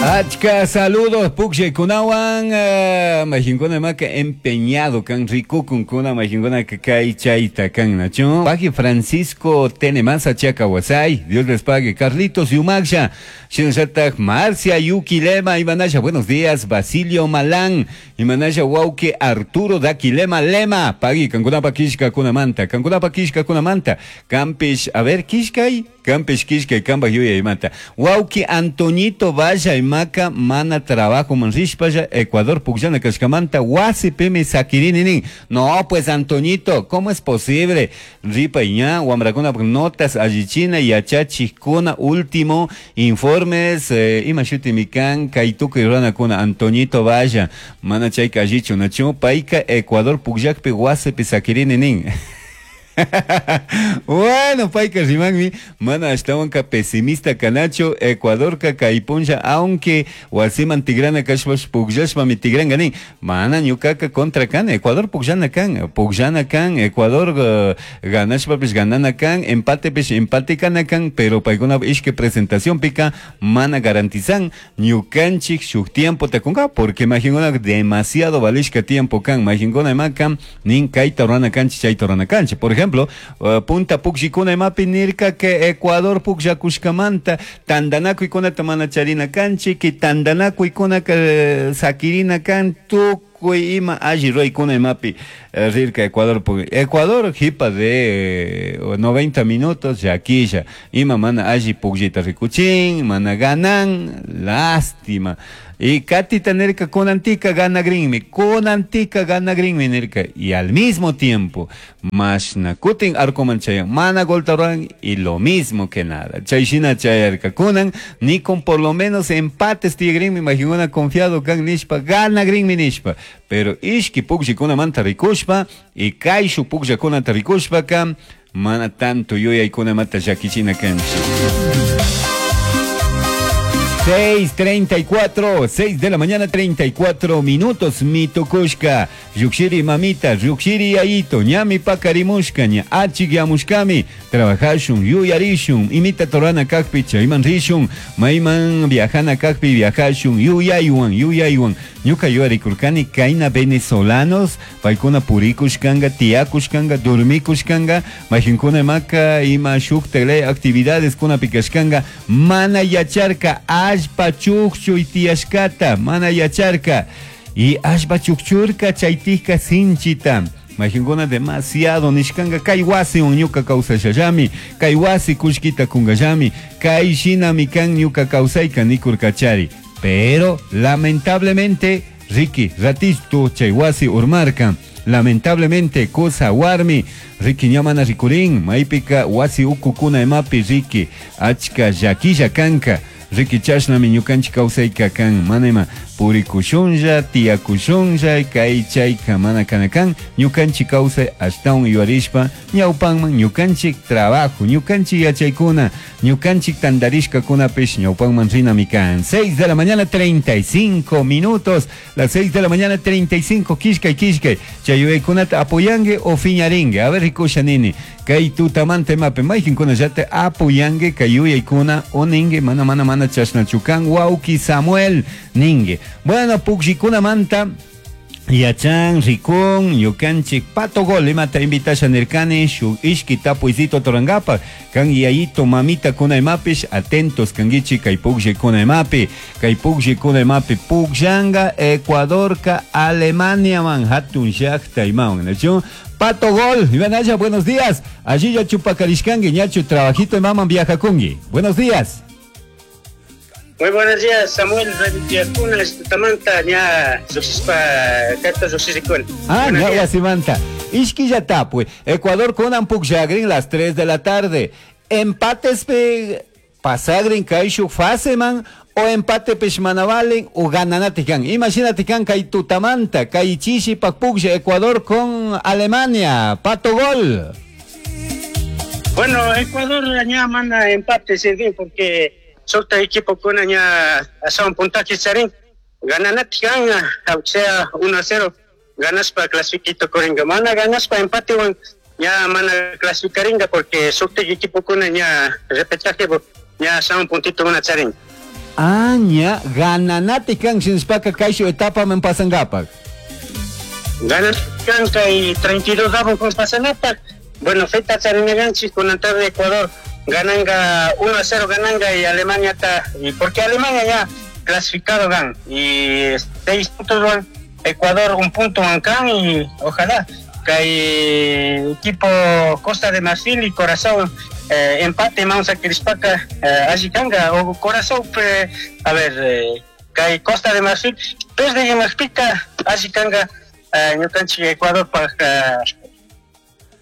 Achka saludos pukllikunawan majinkuna imaka empeñado kan rikukunkuna majinkuna kay chayta kan nachu. Paji Francisco Tenemasa Chacawasay, Dios les pague. Carlitos Yumaksha, shinallatak Marcia Yuquilema, Imanasha, buenos días. Basilio Malán, Imanasha Wauke Arturo Daquilema Lema, pagui kankunapa kishka kunamanta, kankunapa kishka kunamanta, Campish, a ver, kishkay, Campish kishkay, kambaj yuyaymanta. Wauki Antoñito Valla imaka mana trabajo manrishpalla Ecuador pukllana kashkamanta wasipimi sakirini nin. No, pues Antoñito, ¿cómo es posible? Ripa ña, wamrakuna notas allichina yachachikuna último informes ima shutimi kan kay tukuy runakuna Antoñito Valla mana chayka allichu nachu payka Ecuador pukllakpi wasipi sakirini nin. Bueno, payka rimanmi mana ashtawanka pesimista kanachu Ecuadorka kay punlla aunque wasiman tigrana kashpash pukllashpami tigranka nin mana ñukaka contra kan Ecuador pukllana kan pukllana kan Ecuador ganashpapish ganana kan empatepish empate kana kan pero paykuna ishki presentacionpika mana garantizan ñukanchik shuk tiempo takunka porque majinkuna demasiado valishka tiempo kan majinkuna imaka nin kayta rurana kanchik chayta rurana kanchik. Por ejemplo, punta pukllikuna imapi nirka que Ecuador pukllakushkamanta tandanakuykunata mana charina kanchik que tandanakuykunaka sakirina kan tukuy ima alli ruraykuna imapi rirka Ecuador Ecuador jipa de 90 minutos llakilla ima mana alli pukllita rikuchin mana ganan lástima. Y katita nirka kunantika ganagrinmi, kunantika ganagrinmi nirka. Y al mismo tiempo, mashna kutin arcoman chayan, mana golta ruran y lo mismo que nada. Chayshina chayarka kunan, ni con por lo menos empates tigrinmi, imagina confiado kan nishpa, ganagrinmi nishpa. Pero ishki pukllkunamanta rikushpa, y kayshu pukllakunata rikushpaka, mana tanto yuyaykunamanta llakichina kanchik. 6:34, 6 de la mañana, 34 minutos, mitukushka, Yukshiri mamita, Yukshiri yayito, ñami pakarimushka, ña achikyamushkami, trabajashun, yuyarishun, imita torana kakpi, chayman rishun, mayman viajana kakpi, viajashun, yuyaywan, yuyaywan, ñuka yuyarikurkani, kayna venezolanos, paykuna purikushkanga, tiyakushkanga, dormikushkanga, majinkuna imaka, ima shukta actividades kuna pikashkanga, mana yacharka, allpa chukchuy tiyashkata, mana yacharka, y allpa chukchurka chaytijka sinchita. Majinkuna demasiado nishkanga kay wasiwan ñuka kawsashallami, kay wasi kullkita kunkallami, kay shinami kan ñuka kawsayka nikurkachari. Pero lamentablemente, Ricky, ratito chay wasi urmarka. Lamentablemente, cosa warmi, Ricky ña mana rikurin, maypika wasi ukukuna imapi Ricky, achka llakilla kanka. Ricky chashnami ñukanchik kawsayka kan, mana ima purikushunlla, tiyakushunlla, kay chayka mana kana kan, ñukanchik kawsay ashtawan yuyarishpa, ñawpanman ñukanchik trabajo, ñukanchik yachaykuna, ñukanchik tantarishkakunapish ñawpanman rinami kan. 6 de la mañana, 35 minutos, las 6 de la mañana, 35, kishkay, kishkay, chay yuyaykunata apoyangue o fiñaringue, a ver rikusha nini, kay tutamanta imapi, mayqinkuna llata apoyangue, kay yuyaykuna o ningue, mana, mana, mana chashnachu kan, wawki Samuel ningue. Bueno, pukllkunamanta yachan, rikun, ñukanchik Pato Gol, imata invitasha nirkani, shuk ishki tapuysito torangapa, kan yayito mamita kuna imapish, atentos kangichi kay pukllkuna imapi, kay pukllkuna imapi, pukllanga Ecuadorka Alemania man, hatun llaqta imawan, ¿no? Pato Gol, Iván Aya, buenos días. Allí ya chupacarishkangi, ñachu trabajito imaman viajakungi. Buenos días. Muy buenos días, Samuel. Kuna tamanta ña lluqsishpa karta lluqshirikuni. Ah, ña wasimanta. Ishkilla tapui. Ecuador kunan pukllagrin las 3 de la tarde. Empates pe pasagrin kayshu faseman o empate pishmanavalen o gananatikan. Imagínate kan kay tutamanta, kay chishi pak puklla Ecuador con Alemania. Pato Gol. Bueno, Ecuador ña manda empate sirven porque Solta equipo con ña un puntaje charin gananatikan, o sea 1-0 ganas pa clasifiquito coringa mana ganas pa empate wan ña mana clasificaringa porque solta equipo con ña repechaje ña son puntito una charin. Aña gananati kan shinashpaka kayshu etapaman pasankapak. Gananati kan kay 32 avos pasanapak. Bueno, feta charinaganchik kunan tarde Ecuador gananga 1-0 gananga y Alemania ta, y porque Alemania ya clasificado gan y 6 puntos van Ecuador un punto van y ojalá que equipo Costa de Marfil y Corazón empate vamos a Crispaka allí kanga o Corazón a ver que Costa de Marfil pierde y Marpica allí kanga ñukanchik Ecuador pa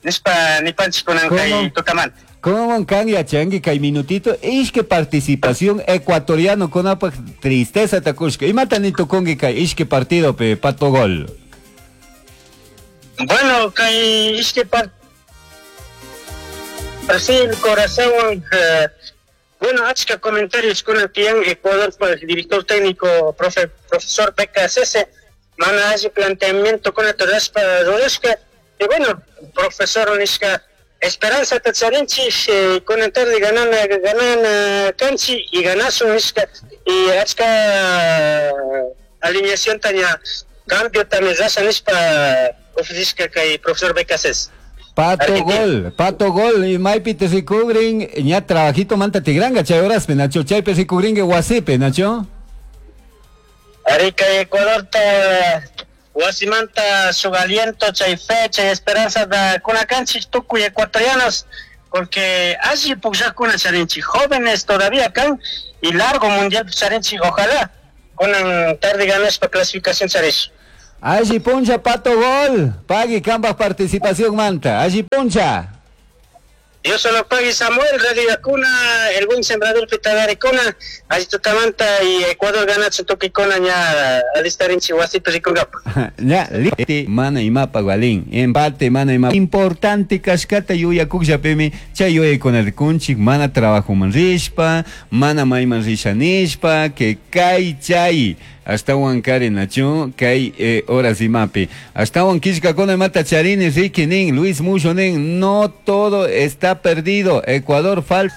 nispa nipanchik kunan kay tutamanta. ¿Cómo kan yachanki kay minutito? Ishke participación ecuatoriano kunapaj tristeza takushka. Imata ni tukunki kay ishke partido pe Pato Gol. Bueno, kay ishke partido Brasil, Corazón, bueno, achka comentarios kunan tiyan Ecuador pa director técnico profesor BKSS, mana alli planteamiento kunata rurashpa rurashka. Y bueno, profesor nishka Esperanza tacharinchik kunan tarde ganana kanchi y ganasun nishka y achka alineación taña cambio también rasha nishpa ofrecishka kay profesor BKSS. Pato Gol, y maypi te rikugrin, ña trabajito manta tigranga chay horaspi, Nacho, chaypi rikugrinki wasipi, Nacho. Arica Ecuador ta wasimanta su aliento, chay fe, chay esperanza da kunakanchik tukuy ecuatorianos, porque allí pukllakuna charinchik, jóvenes todavía kan y largo mundial charinchik, ojalá kunan tarde ganaspa clasificación charish. Allí puncha Pato Gol, pague kambaj participación manta, allí puncha. Yo solo pague Samuel, Radio Acuna, el buen sembrador Pitadaricona, allí tutamanta y Ecuador ganacho toquicona ña alistarinchi wasipi rikungapa. Ya, mana imapa gualín, empate mana imapa. Importante kashkata yuyakukllapimi, chay yuyaykuna rikunchik, mana trabajoman rishpa, mana mayman rishanishpa, que kay chay. Ashtawan kari nacho kay horas imapi. Ashtawan kishkakuna imata charini Ricky nin, Luis Mucho nin, no todo está perdido. Ecuador falta.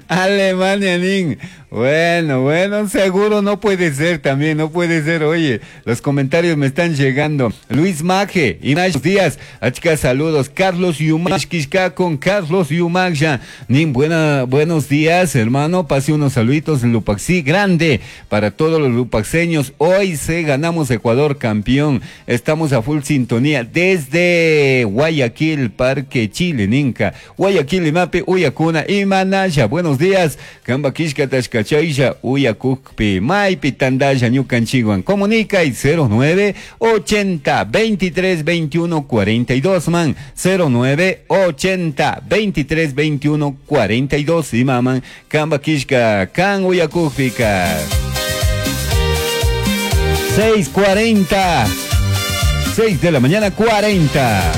Alemania nin. Bueno, seguro no puede ser también, no puede ser. Oye, los comentarios me están llegando. Luis Maje, y más días. Achka, saludos. Carlos Yumach, Kishka con Carlos Yumach ya. Nin, buenos días, hermano. Pase unos saluditos, Lupaxí, grande para todos los lupaxeños. Hoy se ganamos Ecuador campeón. Estamos a full sintonía desde Guayaquil, Parque Chile, Ninca. Guayaquil, Imape, Uyacuna y Manaya. Buenos días. Kamba Kishka Tashka Chaylla, Uyacukpi, Maypi, Tandaya, Ñukanchiguan. Comunica y 09 80 23 21 42, man. 09 80 23 21 42. Y maman, Kamba Kishka, Kan Uyacukpika. 6:40. 6 de la mañana, 40.